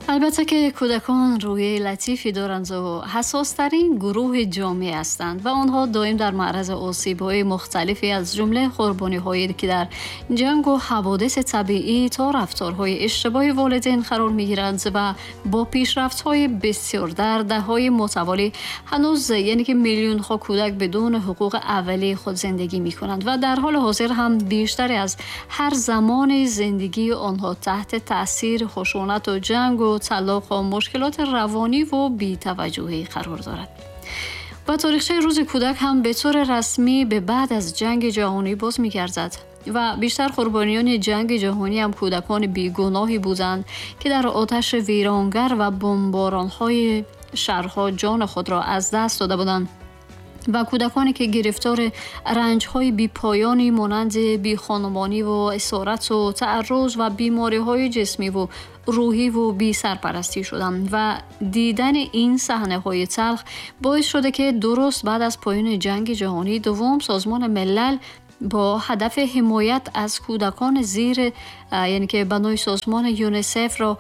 Албатта ки кӯдакон рӯҳияи латифе доранд ва ҳассостарин гурӯҳи ҷомеа ҳастанд ва онҳо доим дар маъраз осибҳои мухталифе аз ҷумла қурбониҳое ки дар ҷанг ва ҳаводиси табиӣ то рафторҳои иштибоҳи волидин қарор мегиранд ва бо пешрафтҳои бисёр дар даҳҳои мутаволӣ ҳанӯз яъне ки миллионҳо кӯдак бидуни ҳуқуқи аввалии худ зиндагӣ мекунанд ва дар ҳоли ҳозир ҳам бештар аз ҳар замони зиндагии онҳо таҳти таъсири хушунат ва ҷанг ва талоқ ва мушкилоти равонӣ ва бетаваҷҷӯҳӣ қарор дорад. Ва таърихчаи рӯзи кӯдак ҳам ба таври расмӣ ба баъд аз ҷанги ҷаҳонӣ боз мегардад ва бештар қурбониёни ҷанги ҷаҳонӣ ҳам кӯдакони бегуноҳе буданд ки дар оташи вайронгар ва бомборонҳои шаҳрҳо ҷони худро аз даст дода буданд ва кӯдаконе ки гирифтори ранҷҳои бепоёне монанди бехонумонӣ ва асорат ва таъарруз ва бемориҳои ҷисмӣ ва рӯҳӣ ва бесарпарастӣ шуданд ва дидани ин саҳнаҳои талх боис шуда ки дуруст баъд аз поёни ҷанги ҷаҳонии дуввум Созмони Милал бо ҳадафи ҳимоят аз кӯдакони зер, яъне ки банои созмони ЮНИСЕФ ро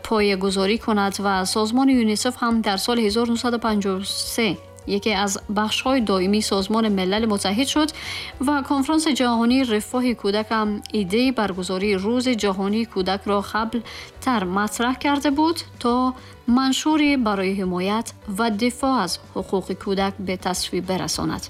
поягузорӣ кунад ва созмони ЮНИСЕФ ҳам дар соли 1953 яке аз бахшҳои доимии Созмони Милали Муттаҳид шуд ва конфронси ҷаҳонии рафоҳи кӯдак ҳам идеяи баргузории Рӯзи ҷаҳонии кӯдакро қаблтар матраҳ карда буд то маншуре барои ҳимоят ва дифоъ аз ҳуқуқи кӯдак ба тасвиб برساند.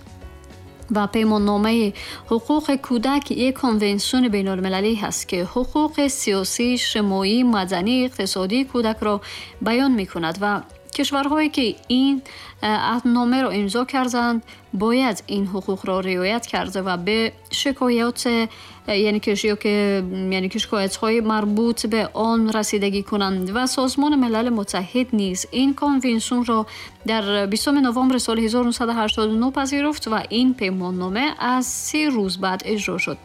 و پیماننامه حقوق کودک یک کنوانسیون بین‌المللی هست که حقوق سیاسی، اجتماعی، مدنی، اقتصادی کودک را بیان می‌کند و کشورهایی که این عهدنامه را امضا کردند باید این حقوق را رعایت کرده و به شکایات یعنی که شکایت‌های مربوط به آن رسیدگی کنند و سازمان ملل متحد نیز این کنوانسیون را در 20 نوامبر سال 1989 پذیرفت و این پیماننامه از 3 روز بعد اجرا شد.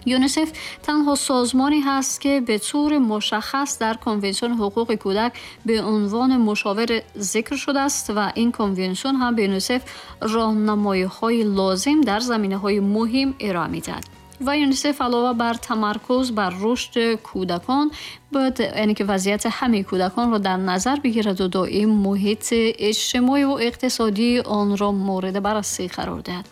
یونیسف تنها سازمانی هست که به طور مشخص در کنوانسیون حقوق کودک به عنوان مشاور ذکر شده است و این کنوانسیون هم به یونیسف راهنمایی‌های لازم در زمینه‌های مهم ارائه می‌دهد. و یونیسف علاوه بر تمرکز بر رشد کودکان باید یعنی که وضعیت همه کودکان را در نظر بگیرد و دائم محیط اجتماعی و اقتصادی آن را مورد بررسی قرار دهد.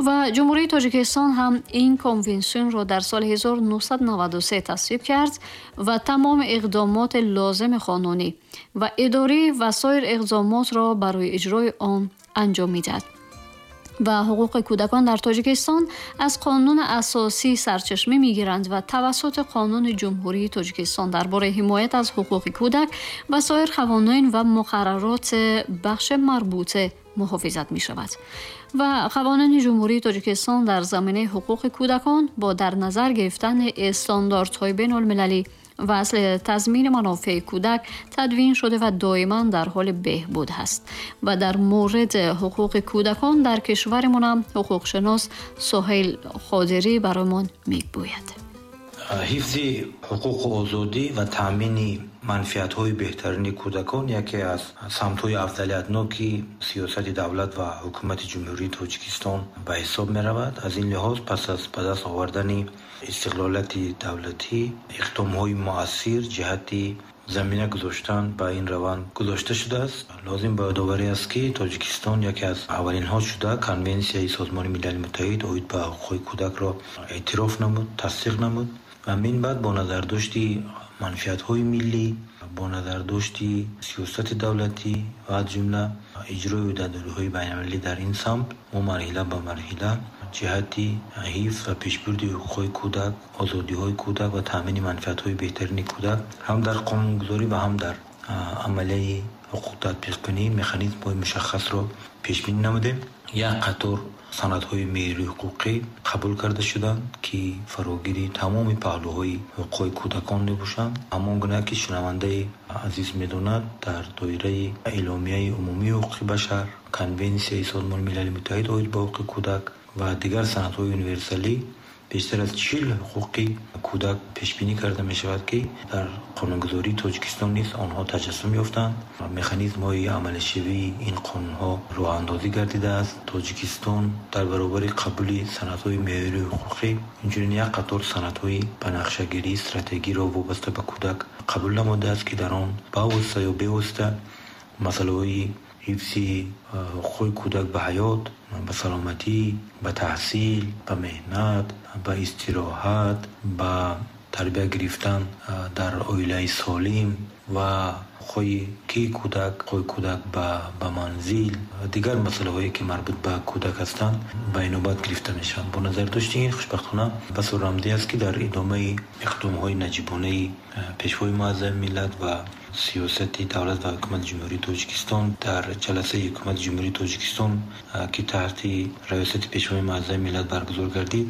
و جمهوری تاجیکستان هم این کنوانسیون را در سال 1993 تصویب کرد و تمام اقدامات لازم قانونی و اداری و سایر اقدامات را برای اجرای آن انجام می‌دهد. و حقوق کودکان در تاجیکستان از قانون اساسی سرچشمه می‌گیرند و توسط قانون جمهوری تاجیکستان درباره حمایت از حقوق کودک و سایر قوانین و مقررات بخش مربوطه محافظت می‌شود. و قوانین جمهوری تاجیکستان در زمینه حقوق کودکان با در نظر گرفتن استانداردهای بین‌المللی و اصل تضمین منافع کودک تدوین شده و دائما در حال بهبود هست. و در مورد حقوق کودکان در کشورمان هم حقوقشناس سهیل قادری برایمان میگوید. ҳифзи ҳуқуқу озодӣ ва таъмини манфиатҳои беҳтарини кӯдакон яке аз самтҳои афзалиятноки сиёсати давлат ва ҳукумати Ҷумҳурии Тоҷикистон ба ҳисоб меравад. Аз ин лиҳоз пас аз ба даст овардани истиқлолияти давлатӣ иқдомҳои муассир ҷиҳати замина гузоштан ба ин раванд гузошта шудааст. Лозим ба ёдоварӣ аст, ки Тоҷикистон яке аз аввалинҳо шуда Конвенсияи Созмони Милали Муттаҳид оид ба ҳуқуқи кӯдакро эътироф намуд, тасдиқ намуд ва мин баъд бо назардошти манфиатҳои миллӣ, бо назардошти сиёсати давлатӣ ва аз ҷумла иҷрои ӯҳдадориҳои байналмилалӣ дар ин самт мо марҳила ба марҳила ҷиҳати ҳифз ва пешбурди ҳуқуқҳои кӯдак, озодиҳои кӯдак ва таъмини манфиатҳои беҳтарини кӯдак ҳам дар қонунгузорӣ ва ҳам дар амалияи ҳуқуқ татбиқкунӣ механизмҳои мушаххасро пешбинӣ намудем. Як қатор санадҳои меъёрии ҳуқуқӣ қабул карда шуданд, ки фарогири тамоми паҳлӯҳои ҳуқуқҳои кӯдакон мебошанд. Ҳамон гуна ки шунавандаи азиз медонад, дар доираи Эъломияи умумии ҳуқуқи башар, Конвенсияи Созмони Милали Муттаҳид оид ба ҳуқуқи кӯдак ва дигар санадҳои универсалӣ Бештар аз 40 ҳуқуқи кӯдак пешбинӣ карда мешавад, ки дар қонунгузории Тоҷикистон низ онҳо таҷассум ёфтанд. Механизмҳои амалишавии ин қонунҳо роҳандозӣ гардидааст. Тоҷикистон дар баробари қабули санадҳои меъёрии ҳуқуқӣ инчунин як қатор санадҳои ба нақшагирии стратегиро вобаста ба кӯдак қабул намудааст, ки дар он бавосита ё бевосита масъалаҳои ҳифзи ҳуқуқи кӯдак ба ҳаёт, ба саломатӣ, ба таҳсил, ба меҳнат, ба истироҳат, ба тарбия гирифтан дар оилаи солим ва ҳуқуқи ки кӯдак, ҳуқуқи кӯдак ба манзил ва дигар масъалаҳое ки марбут ба кӯдак ҳастанд ба инобат гирифта мешаванд. Бо назардошти ин хушбахтона басо рамзӣ аст, ки дар идомаи иқдомҳои наҷибонаи Пешвои муаззами миллат ва сиёсати давлат ва ҳукумати Ҷумҳурии Тоҷикистон дар ҷаласаи ҳукумати Ҷумҳурии Тоҷикистон, ки таҳти раёсати Пешвои муаззами миллат баргузор гардид,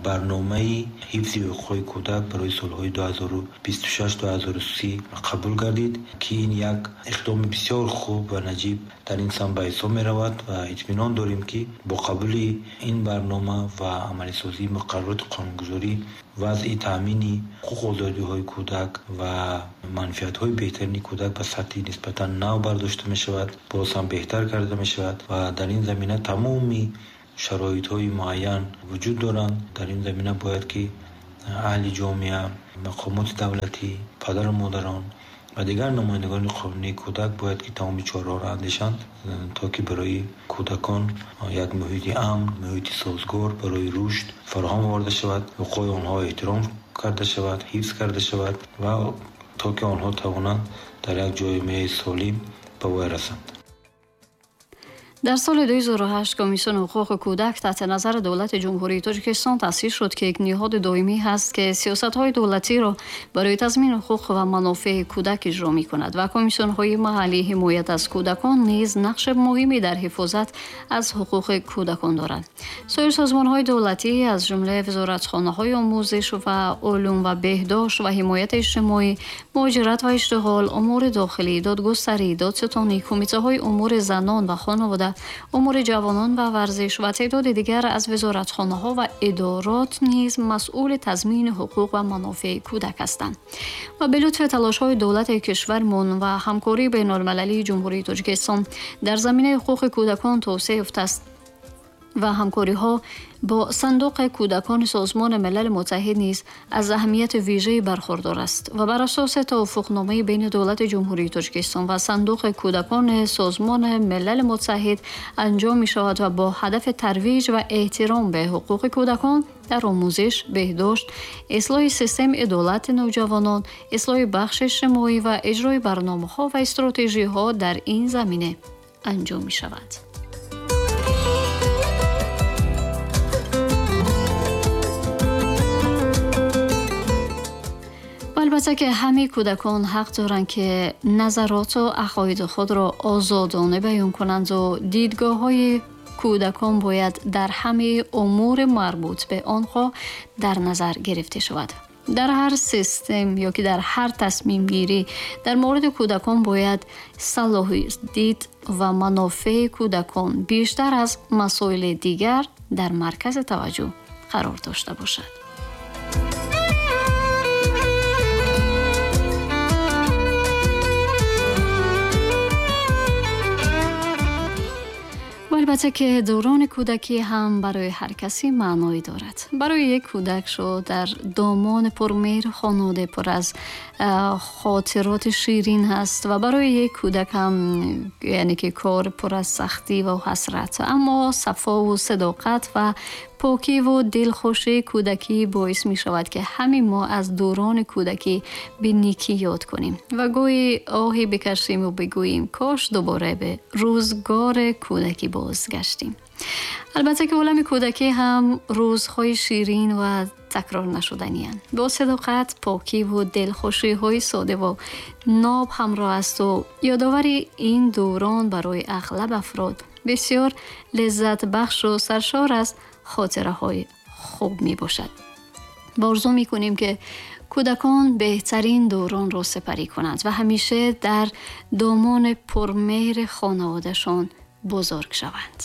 барномаи ҳифзи ҳуқуқи кӯдак барои солҳои 2026-2030 қабул гардид, ки ин як иқдоми бисёр хуб ва наҷиб дар ин самт ба ҳисоб меравад ва итминон дорем, ки бо қабули ин барнома ва амалисозии муқаррароти қонунгузорӣ вазъи таъмини ҳуқуқу озодиҳои кӯдак ва манфиатҳои беҳтарини кӯдак ба сатҳи нисбатан нав бардошта мешавад, боз ҳам беҳтар карда мешавад ва дар ин замина тамоми шароитҳои муайян вуҷуд доранд. Дар ин замина бояд ки аҳли ҷомеа, мақомоти давлатӣ, падару модарон ва дигар намояндагони қонунии кӯдак бояд ки тамоми чораҳоро андешанд, то ки барои кӯдакон як муҳити амн, муҳити созгор барои рушд фароҳам оварда шавад, ҳуқуқи онҳо эҳтиром карда шавад, ҳифз карда шавад ва то ки онҳо тавонанд дар як ҷомеаи солим ба воя расанд. Дар соли 2008 Комиссияи ҳуқуқи кӯдак таҳти назари давлати Ҷумҳурии Тоҷикистон таъсис шуд, ки як ниҳоди доимӣ ҳаст, ки сиёсатҳои давлатиро барои тазмини ҳуқуқ ва манофеи кӯдак иҷро мекунад ва комиссионҳои маҳаллии ҳимоят аз кӯдакон низ нақши муҳиме дар ҳифозат аз ҳуқуқи кӯдакон доранд. Соир созмонҳои давлатӣ аз ҷумла вазоратхонаҳои омӯзиш ва улум ва беҳдошт ва ҳимояти иҷтимоӣ, муҳоҷират ва иштиғол, умури дохилӣ, додгустарӣ, додситонӣ, кумитаҳои умури занон ва хонавода, умури ҷавонон ва варзиш ва теъдоди дигар аз вазоратхонаҳо ва идорот низ масъули тазмини ҳуқуқ ва манофеи кӯдак ҳастанд. Ва به лутфи талошҳои давлати кишвармон ва ҳамкории байналмилалии Ҷумҳурии Тоҷикистон дар заминаи ҳуқуқи кӯдакон тавсеа ёфтааст ва ҳамкориҳо бо сандуқи кӯдакони Созмони Милали Муттаҳид низ аз аҳамияти вижаи бархурдор аст ва бар асоси тавофуқномаи байни давлати Ҷумҳурии Тоҷикистон ва сандуқи кӯдакони Созмони Милали Муттаҳид анҷом мешавад ва бо ҳадафи тарвиҷ ва эҳтиром ба ҳуқуқи кӯдакон дар омӯзиш, беҳдошт, ислоҳи системи адолати навҷавонон, ислоҳи бахши иҷтимоӣ ва иҷрои барномаҳо ва стратегияҳо дар ин замина анҷом мешавад. Албатта ки ҳамаи кӯдакон ҳақ доранд, ки назароту ақоиди худро озодона баён кунанд ва дидгоҳҳои кӯдакон бояд дар ҳамаи умури марбут ба онҳо дар назар гирифта шавад. Дар ҳар систем ё ки дар ҳар тасмимгирӣ дар мавриди кӯдакон бояд салоҳи дид ва манофеи кӯдакон бештар аз масоили дигар дар маркази таваҷҷӯҳ қарор дошта бошад. Албатта ки даврони кӯдакӣ ҳам барои ҳар касе маъное дорад. Барои як кӯдак шуд дар домони пурмеҳр хонавода пур аз хотироти ширин ҳаст ва барои як кӯдак ҳам яъне ки кор пур аз сахтӣ ва ҳасрат, аммо сафо ва садоқат ва покӣ ва дилхушии кӯдакӣ боис мешавад, ки ҳамин мо аз даврони кӯдакӣ ба некӣ ёд кунем ва гоҳе оҳе бикашем ва бигӯем кош дубора ба рӯзгори кӯдакӣ бозгаштем. Албатта ки олами кӯдакӣ ҳам рӯзҳои ширин ва такрор нашуданианд. Бо садоқат, покӣ ва дилхушиҳои сода ва ноб ҳамроҳ аст ва ёдовари ин даврон барои ағлаб афрод бисёр лаззатбахш ва саршор аз хотираҳои хуб мебошад. Орзу мекунем, ки кӯдакон беҳтарин давронро сипарӣ кунанд ва ҳамеша дар домони пурмеҳри хонаводашон бузург шаванд.